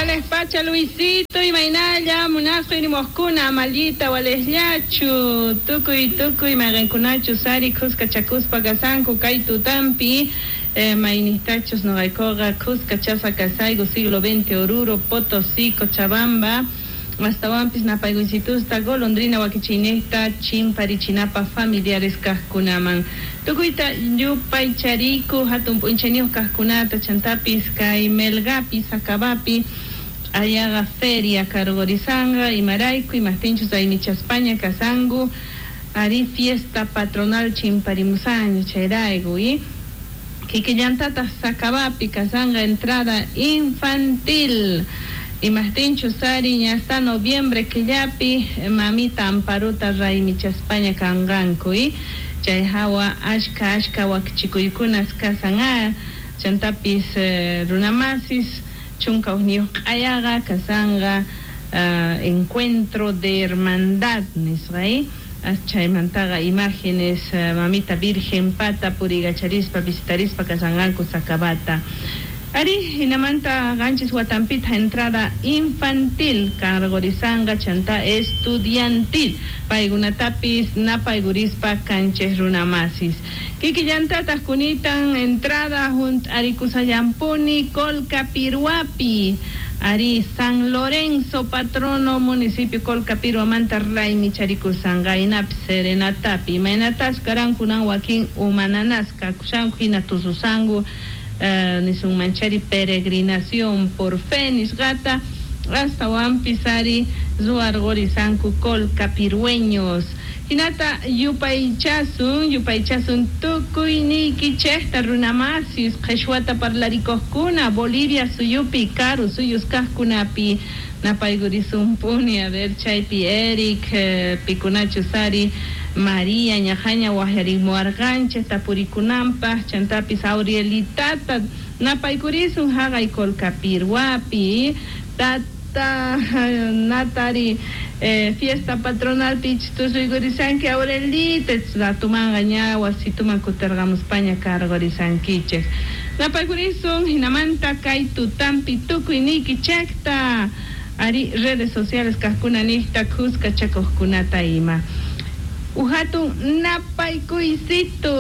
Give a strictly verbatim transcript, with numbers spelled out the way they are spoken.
Wales pacha Luisito imaynalla munasqa irimuqkuna amallita walesllachu tukuy tukuy mayqinkunachu sari khuska chakuspa kasanku kay tutampi eh, maynistachus noqaykuqa khuska chasqa kasayku siglo veinte Oruro, Potosí, Cochabamba astawanpis napaykuysitusta golondrina wakichiynejta chimparichinapaq familiares kaqkunaman tukuyta yupaychariku hatun p'unchayniyuq kaqkunata chantapis kay Melgapi Sacabapi ayaqa feria karqurisanqa imarayku imaqtinchus raymichaspaña kasanku ari fiesta patronal chimparimusaña chayrayku y kikillantataq Sacabapi kasanqa entrada infantil imaqtinchus ari ña hasta noviembre killapi mamita Amparuta raymichaspaña kanqanku y chay hawa ashka ashka wakichikuykunas kasan a chantapis eh, runamasis chunka hukniyuq q'ayaqa kasanqa uh, encuentro de hermandad nisqa y chaymantaqa imágenes uh, mamita Virgen pata purigacharispa visitarispa kasanqanku Sacabata ari hinamanta qanchis watampita entrada infantil karqurisanqa chanta estudiantil paykunatapis napaykurispa kanchis runamasis kikillantataq kunitan entrada hunt'arikusallampuni Colcapirhuapi ari San Lorenzo patrono municipio Colcapirhuamanta raymicharikusqanqa hinapis serenatapi imaynatas karankunan wakin umananasqa kushanku hina tususanku Uh, nisunmanchari peregrinación por fe nisqata astawanpis ari ruwarqurisanku colcapirhueños hinata yupaychasun yupaychasun tukuyniykichejta runamasis qheshwata parlarikuqkuna Bolivia suyupi karu suyus kaqkunapi napaykurisunpuni a ver chaypi Eric eh, pikunachus ari María ñajaña waqyarimuwarqanchik tapurikunanpaq chantapis Aurielitata napaykurisun haqay Colcapirhuapi tata natari eh, fiesta patronal pich tusuykurisanki Aurelita ratumanqa ña wasituman kutirqamuspaña karqurisankichik napaykurisun hinamanta kay tutampi tukuyniykichikta ari redes sociales kaqkuna niqta khuska chakuqkunata ima uhatun napaykuysito.